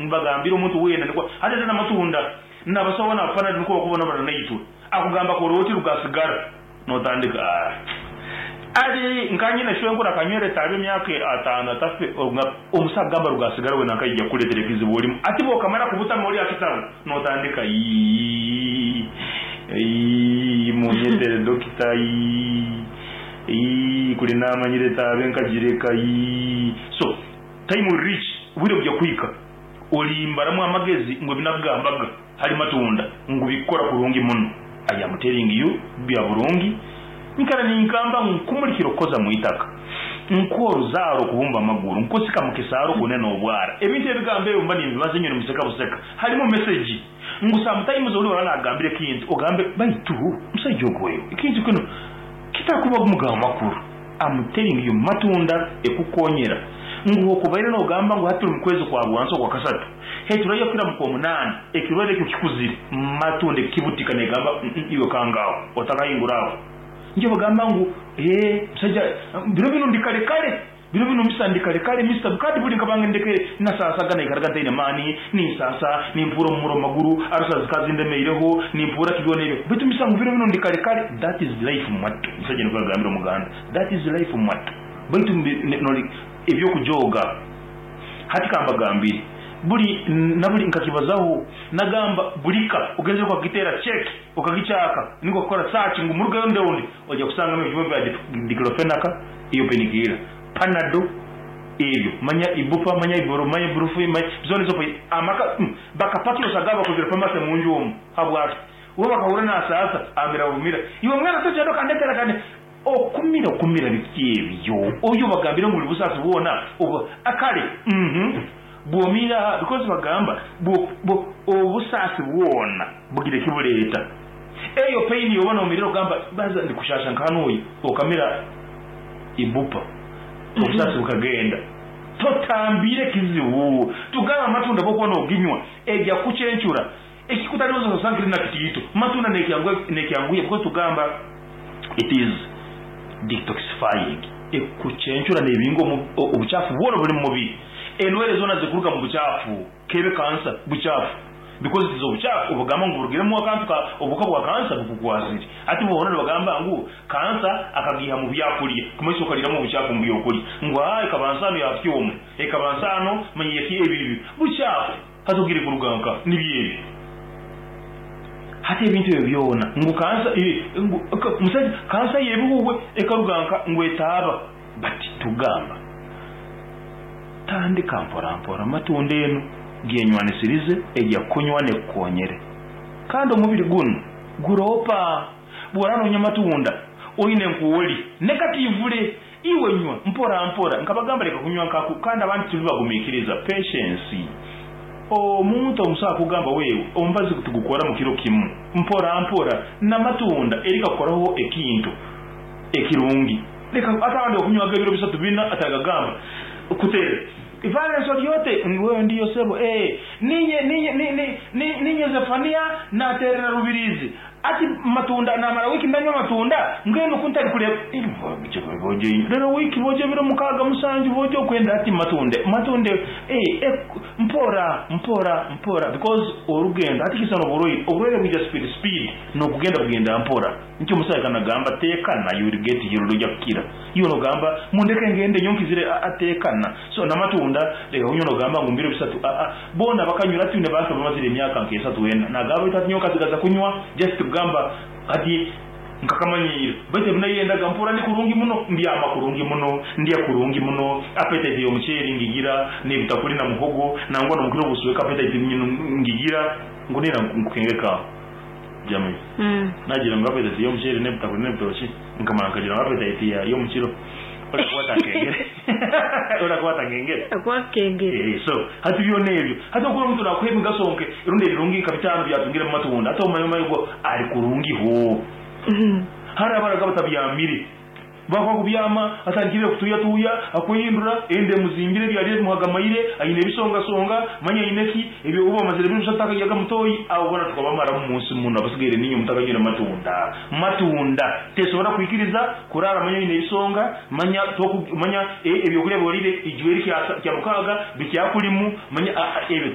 Mbagambire omuntu weena nikwo hati ate namatunda nabasawo nabafanana nikwo bakubonabona naitwe akugamba kora oti rugasigara notandika ah ari nka nyine shwenkuru akanywera etaabe emyaka atano atafe omusawo akugamba rugasigara we nanka yaija kukuretera ekizibu orimu ati bwokamara kubutama ori ahakitabu notandika iyii iyii munyetere dokita iyii iyii kuri namanyire etaabe nkagireka iyii so Time will reach, obwire bugya kuhika olimbaramu amagezi ngu ebinakugambaga hali matunda ngu bikukora kurungi muno. I am telling you bya burungi. Nkara ninkamba ngu nkumulikira okukoza mwitaka, nkoruzaaro okubumba amaguru, nkosika mukisaaro okunena obwara. Ebintu ebigambo ebyo mba nimbibaza inywe nimuseka buseka. Halimu message ngu sometimes oli oraba nagambira ekintu ogambe baitu musaija ogu oyo ekintu kinu kitakuba mugamba makuru. Am telling you matunda ekukonyera ngu hokubaire nogamba ngu hati turi mukwezi kwa bwansi okwa kasatu he turaiya kukira mukwomunana ekirwaire ekyo kikuzire matunda ekibutika negamba iwe kanga aho otakahingura aho nikyo bagamba ngu hee musaija biro binu ndi kare kare biro binu misa ndi kare kare Mister kandi buri nkaba ndekere nasasaga naikaraga ntaine maani ninsasa nimpuura omumura omumaguru arusa zikaba zindemeireho nimpuura ki byona ebyo baitu misa ngu biro binu ndi kare kare that is life mwattu omusaija nikwo yagambire omuganda that is life mwattu baitu ebyokujooga hati kambagambire buri naburi nkakibazaho nagamba buri ka ogenzire okagitera check okagikyaka nikwo kukora search ngu murugeyo ndeundi oija kusangamu ebijuma bya diclofenac iyo penicillin Panado ebyo manya ibupa manya iburo manya iburufi manya zona ezo amaka bakapakira osanga bakozire pharmacy munju omu habwaki we bakahurra nasaasa amira bumira iwe mwana togyenda okandetera kandi okumira okumira biki ebyo oyo bagambire ngu buri busaasi bwona obu kare uhmm bwomira because bagamba obusaasi bwona bugira ekibureeta eyo pain yoba nomirira ogamba baza ndikushasha nka hanuya okamira ibupa obusaasi bukagenda. Totambire ekizibu tugambe amatunda bwokuba noginywa egya kukucencura ekikutariho osanga kiri nakitiito matunda nekyanguhya because tugamba it is detoxifying ekucencura nebinga obukyafu bwona oburi mumubiri endwaire zona zikuruga mubukyafu. Kebe kansa bukyafu because it is obukyafu obugamba ngu burugiremu akantu ka obuhuka bwa kansa bukukwasire. Hati boona nibagamba ngu kansa akagiiha mu byakurya kumanyisa okariramu obukyafu omu byokurya ngu haa ekaba nsaano ya kyoma ekaba nsaano manya yaki ebi ebi bukyafu hati ogire kuruga nka nibyo ebi hati ebintu ebyo byona ngu kansa ngu musaija kansa yebihuhwe ekaruga nka ngu etaaba but tugamba. Tandika mpora mpora amatunda enu gyenywanisirize egya kunywa nekukonyere. Kandi omubiri gunu guropa. Bworaba nonywa amatunda oine nkwoli negatively iwe nywa mpora mpora. Nkabagamba leka kunywa nkaku kandi abandi tuli bagumikiriza patience. Omuntu omusawo akugamba wewe omubazi tigukora mukiro kimu mpora mpora namatunda eri kakukoraho ekintu ekirungi. Leka ate abandi bakunywaga ebiro bisatu bina atagagamba kutere Valens ori ote wewe ndiyo sebo ee ninye ninye ni ninye Zefania naterera Rubirizi ati matunda namara wiki ndanywa amatunda mbwenu ku ntari kureba rero wiki boja ebiro mukaga musanju boja okwenda ati matunde matunde ee mpora mpora mpora because orugendo hati kisana oburwaire oburwaire bwija speed speed nokugenda bugenda mpora. Nikyo omusaija akanagamba tekana you will get healed oija kukira. Iwe nogamba mundeke ngende nyowe nkizire aa tekana. So namatunda leka kunywa nogamba ngu mbiro bisatu aa boona bakanywa hati twine bantu abamazire emyaka nka esatu ena nagamba baitu hati nyowe nkasigaza kunywa just kugamba hati nkakamanyiira baitu ebinayendaga mpurra ndi kurungi muno mbyama kurungi muno ndya kurungi muno appetite yomuceeri ngigira nebitakuri na muhogo nangwa nomukiro obusweka appetite ngigira ngu nina nkukengeka. Jamie, Nagira ngu appetite y'omuceeri n'ebitakuri n'ebitookye, nkamara nkagira ngu appetite ya y'omukiro orakwata nkengere. Orakwata nkengere. Akwakengere. Eh, so hati byona ebyo hati okuba omuntu nakuha emigaso nke rundi ebirungi nka bitaano byatungire mu matunda hati omanye omanye ogu ari kurungi hoo. Hariho abaraga batabyamire. Bakuba kubyama, atandikire kutuuyatuuya, akwehindura, enda emuzimbire, ebyarya bimuhagamaire, aine ebisongasonga, manya aine ki, ebyo obu bamazire ebiro bishatu takaryaga mutoyi, abo boona tukabamaramu omu nsi munu, abasigaire niinywe mutakanywire matunda. Matunda! Tesobora kwikiriza kuraara manya oine ebisonga, manya toku, manya e, ebyokurya bi oriire ijweri kya, kya mukaaga bikyakurimu, manya a, a, ebyo.